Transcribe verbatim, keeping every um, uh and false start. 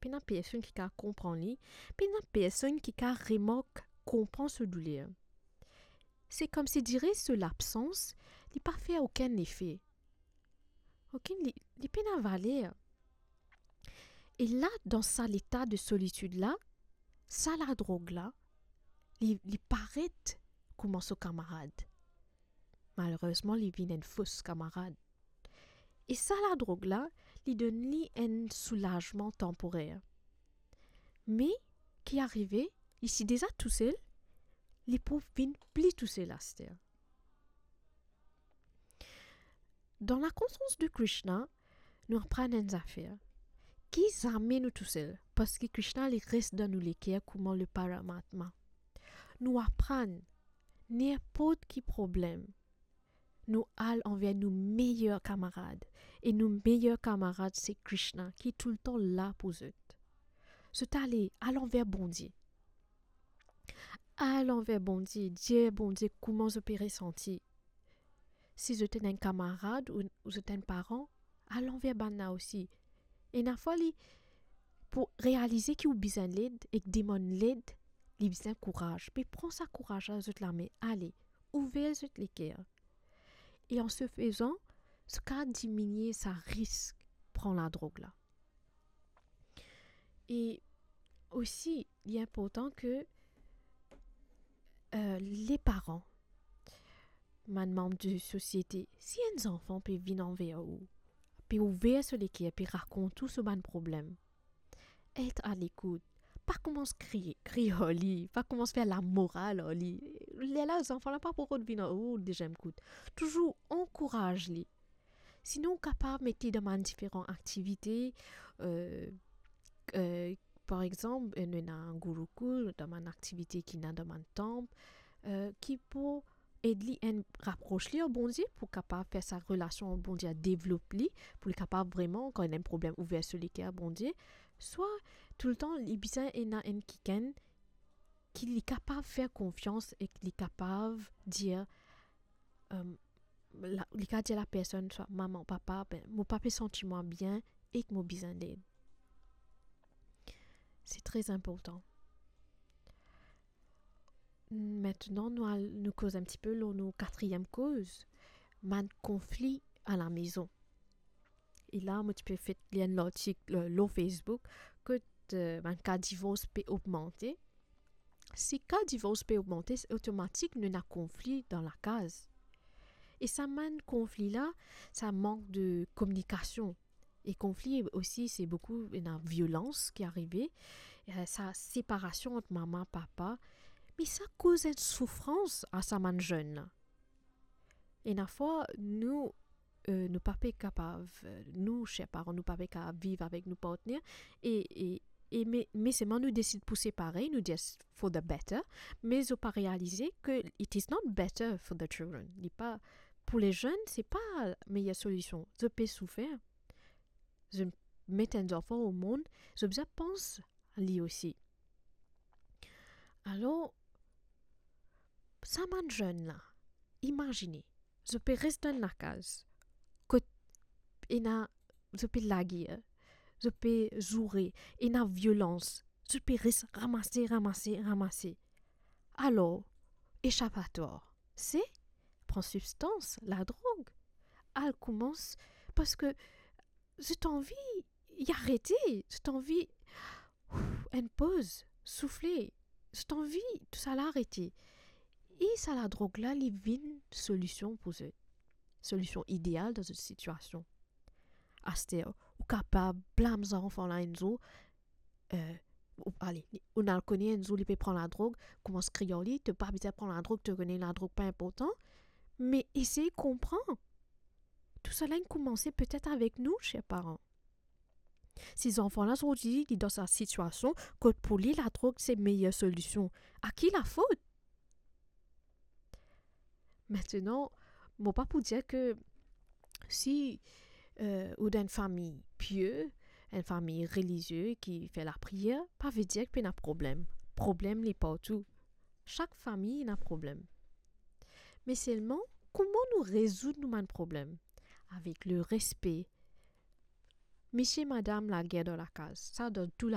pena personn ki kav konpran li, pena personn ki kav remark, konpran so douler. Se koumsi dire so labsans, li pa fer okenn lefe. Okenn, li, li pena valer. E la, dan sa leta de solitid la, sa ladrog la, li, li paret kouma so kamarad. Malerezman, li vinn enn fos kamarad. E sa ladrog la, li donn li enn soulazman tanporer. Me, ki arive, li ti deza tousel, li pou vinn pli tousel aster. Dan lakonsians de Krishna, nou aprann enn zafer. Ki zame nou tousel, parski Krishna, li res dan nou leker kouma le Paramatma. Nou aprann, ninport ki problem, nou al anver nou meyer kamarad. E nou meyer kamarad, se Krishna, ki toultan la pou zot. Zot ale, al anver Bondie. Al anver Bondie, dir Bondie kouma zot pe resanti. Si zot ena enn kamarad ou, ou zot ena enn paran, al anver bannla osi. Ena fwa li, pou realize ki ou bizin led ek demann led, li bizin kouraz. Pe pran sa kouraz la, zot lame, ale, ouver zot leker. E an se fezan, sa kav diminie sa risk pran ladrog la. E osi, li inportan ke, euh, le paran, bann manb de sosiete, si enn zanfan pe vinn anver ou, pe ouver so leker, pe rakont ou so bann problem, et a lekout. Pa koumans kriye, kriye ar li, pa koumans fer lamoral ar li. Lerla zanfan la pa pou rod vinn ar ou deziem kout. Touzour ankouraz li. Sinon, ou kapav met li dan bann diferan aktivite, euh, euh, par exanp, euh, nou ena Gurukul, dan bann aktivite ki ena dan bann tanp, euh, ki pou ed li enn rapros li ar Bondie, pou kapav fer sa relasion ar Bondie, devlop li, pou li kapav vreman, kan li ena enn problem, ouver so leker ar Bondie. Swa, toultan, li bizin ena enn kikenn ki li kapav fer konfians ek li kapav dir, euh, la, li kav dir lapersonn, swa mama, papa, ben, mo pa pe santi mwa bien ek mo bizin led. Se tre inportan. Aster, nou al, nou koz enn tipe lor nou katriem koz, bann konfli a lamezon. E la, mo ti pe fek lir enn lartik, euh, lor Facebook, kot, euh, bann ka divors pe ogmante. Si ka divors pe ogmante, se otomatik nou ena konfli dan lakaz. E sa bann konfli la, sa mank de kominikasion. E konfli osi, se boukou, ena violans ki arive, euh, sa separasion ant mama, papa, me sa koz enn soufrans a sa bann zenn la. Ena fwa, nou, euh, nou pa pe kapav, euh, nou, ser paran, nou pa pe kapav viv avek nou partner, e, e, e me, me selman nou desid pou separe, nou dir for the better, me zot pa realize ke it is not better for the children. Li pa, pou le zenn, se pa meyer solision. Zot pe soufer. Zot met enn zanfan o mond, zot bizin pans li osi. Alor, sa bann zenn la, imazine, zot pe res dan lakaz, kot ena, zot pe lager, zot pe zoure, ena violans, zot pe res ramase, ramase, ramase. Alor, esapatwar, se pran sibstans, ladrog, al koumans, parski zot anvi arete, zot anvi, ouf, enn poz, soufle, zot anvi tousala arete. E sa ladrog la, li vinn solision pou zot. Solision ideal dan zot sitiasion. Aster, ou kapav blam zanfan la enn zour, euh, ou, ale, ou al kone enn zour li pe pran ladrog, koumans kriy ar li, to pa bizin pran ladrog, to kone ladrog pa inportan, me esey konpran. Tousala inn koumanse petet avek nou, ser paran. Si zanfan la zordi, li dan sa sitiasion, kot pou li ladrog se meyer solision, a ki lafot? Aster, mo pa pou dir ke si, euh, ou dan enn fami pie, enn fami relizie ki fer lapriyer, pa ve dir ki pena problem. Problem li partou. Sak fami ena problem. Me selman, kouma nou rezoud nou bann problem? Avek lerespe. Misie, madam, lager dan lakaz, sa dan tou